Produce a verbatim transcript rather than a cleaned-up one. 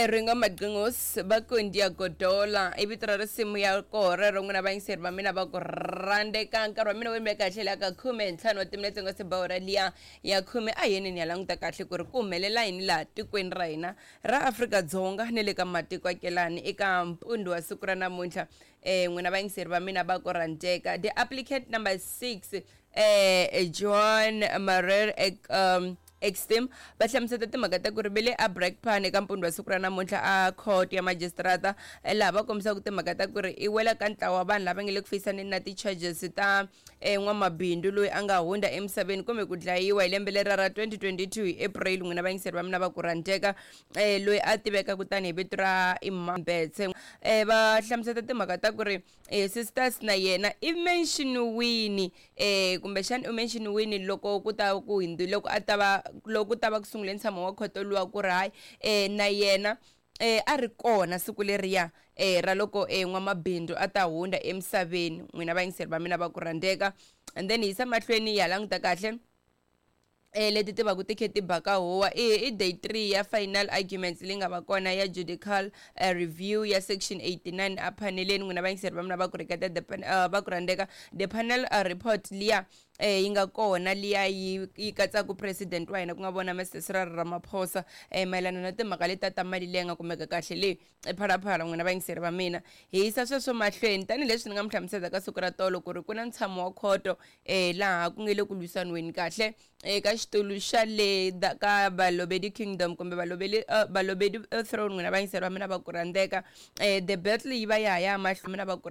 Ringo Madlingos va ku Ndiyagodola i vito ra risimu ya koho rero. N'wina vayingiseri va mina va ku rhandzeka, nkarhi wa mina wu yime kahle la ka khume ntlhanu wa timinetse nga se ba hora liya ya khume. A yeni ni ya languta kahle ku ri ku humelela yini laha tikweni ra hina ra Afrika-Dzonga ni le ka matiko akelani eka mpundzu wa siku ra namuntlha. um n'wina vayingiseri va mina va ku rhandzeka, the applicant number six, eh John Marer ek, um, Extem, va hlamuseta timhaka ta ku ri ve le a Brakpan eka mpundzu wa siku ra namuntlha a court ya magistrata, laha va kombisaka timhaka ta ku ri i wela ka ntlawa wa vanhu lava nge le ku fayisaneni na ti-charges ta eh, n'wamabindzu loyi a nga hundza emisaveni kumbe ku dlayiwa hi lembe lera ra twenty twenty-two hi April. N'wina vayingiseri va mina va ku rhandzeka, eh, loyi a tivekaka tanihi vito ra Imambetse, eh, va hlamuseta timhaka ta ku ri eh, sisters na yena i mention-wini, eh, kumbexana u mention-wini loko ku ta ku hindzu loko a ta va loko ku ta va ku sungule ntshamo wa khoto luwa, ku ri hayi, eh, na yena eh, a ri kona siku leriya eh, ra loko eh, n'wamabindzu a ta hundza emisaveni. N'wina vayingiseri va mina va ku rhandzeka, and then hi yisa mahlweni hi ya languta kahle eh leti ti va ku ti khe ti baka huwa. i i day three ya final arguments leyi nga va kona ya judicial uh, review ya section eighty-nine a paneleni. N'wina vayingiseri va mina va ku rheketa the pan, uh, va ku rhandzeka, the panel uh, report liya eh yi nga kona liya yi yi katsaka president wa hina, ku nga vona Mister Cyril Ramaphosa, eh mayelana na timhaka leti ta mali leyi nga kumeka kahle leyi ePhalaphala. N'wina vayingiseri va mina, hi yisa sweswo mahlweni tanihileswi ni nga mi hlamusela ka siku ra tolo ku ri ku na ntshamo wa khoto eh laha ku nge le ku lwisaniweni kahle eka xitulu xa le ka Balobedi Kingdom kumbe Balobedi uh, Balobedi throne. N'wina vayingiseri va mina va ku rhandzeka, eh the battle yi va ya ha ya mahlweni, mina va ku